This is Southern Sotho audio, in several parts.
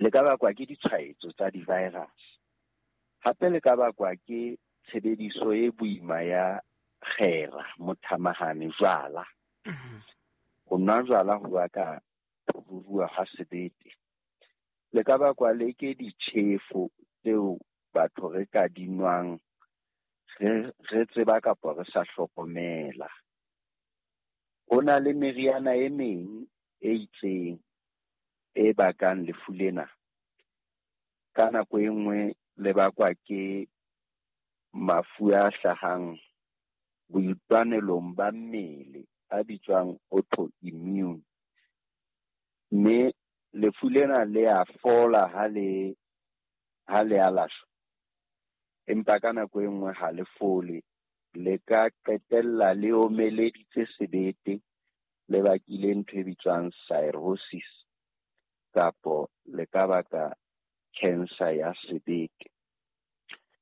Le ka bakwa ke ditshwaetso tsa di-virus. Hape le ka bakwa ke tshebediso e boima ya kgera, mothamahane, jwala. Ho nwa jwala ho baka ho ruruha ha sebete. Le ka bakwa le ke ditjhefo tseo batho re ka di nwang re tseba kapa re sa hlokomela. Ho na le meriana e meng e itseng e bakang lefu lena. Ka nako e nngwe le bakwa ke mafu a hlahang boitwanelong ba mmele a bitswang autoimmune. Mme lefu lena le a fola ha le alashwa, empa ka nako e nngwe ha le fole, le ka qetella le omeleditse sebete, le bakile ntho e bitswang cirrhosis, kapo le ka baka cancer ya sebete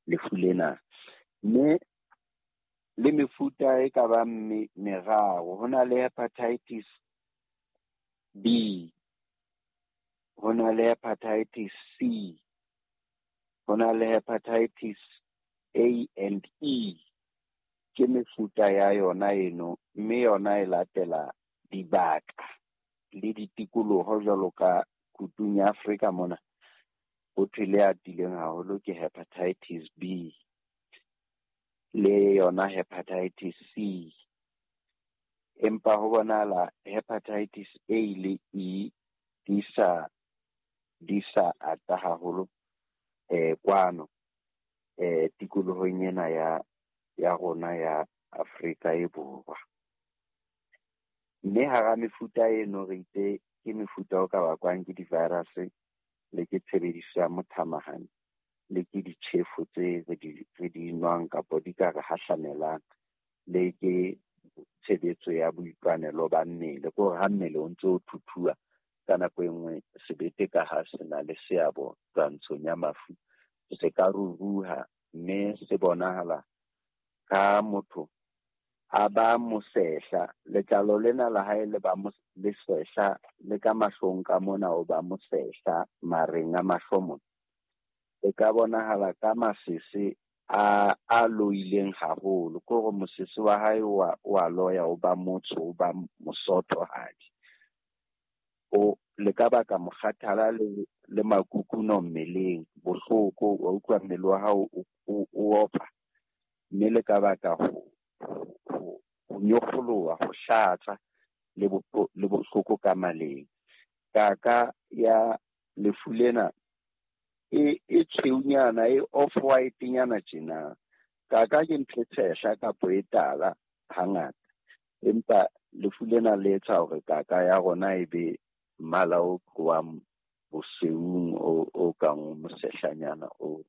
lefu lena. Mme le mefuta e ka bang meraro, ho na le hepatitis B, ho na le hepatitis C, ho na le hepatitis A and E. Ke mefuta ya yona eno, mme yona e latela dibaka le ditikoloho jwalo ka kutung ya Afrika mona. Ho thwe le atileng haholo ke hepatitis B le yona hepatitis C. Empa ho bonahala hepatitis A le E di sa ata haholo kwano tikolohong ena ya rona ya Afrika e Borwa. Mme hara mefuta eno re itse ke mefuta o ka bakwang ke di-virus le ke tshebediso ya mothamahane le ke ditjhefo tse re di nwang kapa di ka re hahlamelang, le ke tshebetso ya boitwanelo ba mmele. Ke hore ha mmele o ntse o thuthuwa ka nako e nngwe sebete ka ha se na le seabo twantshong ya mafu, se ka ruruha mme se bonahala ka motho a ba mosehla, letlalo lena la hae le ba lesehla, le ka mahlong ka mona o ba mosehla, mareng a mahlo mona. E ka bonahala ka masese a loileng haholo, ke hore mosese wa hae o a loya, o ba motsho, o ba mosothohadi. O le ka baka mokgathala le makukuno mmeleng, bohloko, wa utlwa mmele wa hao o opa, mme le ka baka ho nyokgoloha, ho hlatsa le bohloko ka maleng. Kaka ya lefu lena e tshweunyana, e off-white nyana tjena. Kaka ke ntho e tshehla kapa e tala hangata, empa lefu lena le etsa hore kaka ya rona e be mmala o tlohang bosweung o kang o mosehlanyana o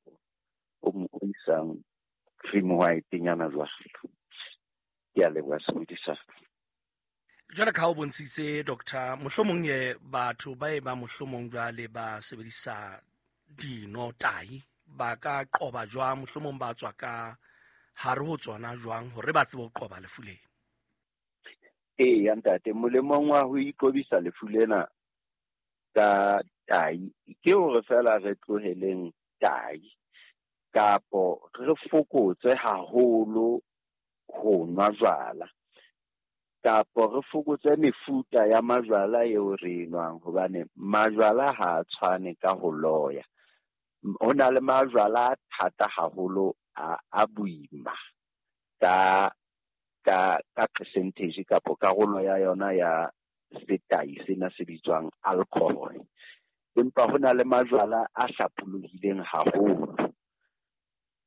isang cream white nyana jwalo. Ke a leboha sebedisa. Jwale ka ha o bontshitse doctor, mohlomong ye batho ba e ba mohlomong jwale ba sebedisa dino tahi, ba ka qoba jwang, mohlomong ba tswa ka hare ho tsona jwang hore ba tsebe ho qoba lefu lena? Eya ntate, molemong wa ho iqobisa lefu lena ka tahi ke hore fela re tloheleng tahi kapo re fokotse haholo ho nwa jwala, kapo re fokotse mefuta ya majwala eo re e nwang, hobane majwala ha a tshwane ka ho loya. Ho na le majwala a thata haholo a boima ka percentage kapo karolo ya yona ya setai sena se bitswang alcohol. Empa ho na le majwala a hlapolohileng haholo,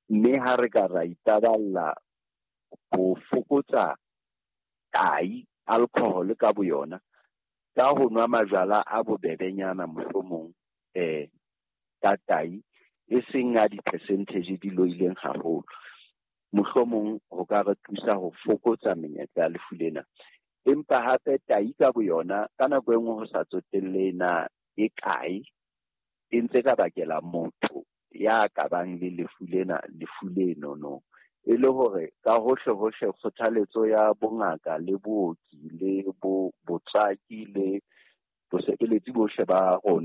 mme ha re ka ra itaballa ho fokotsa tai alcohol ka boyona ka ho nwa majwala a bobebenyana mohlomong ka tai e seng a di-percentage di loileng haholo, mohlomong ho ka re thusa ho fokotsa menyetla ya lefu lena. Empa hape tai ka boyona ka nako e nngwe ho sa tsotelle na e kae, e ntse ka bakela motho ya ka bang le lefu lena lefu leno. E le hore ka hohle hohle kgothaletso ya bongaka le booki le botswaki le bosebeletsi bohle ba rona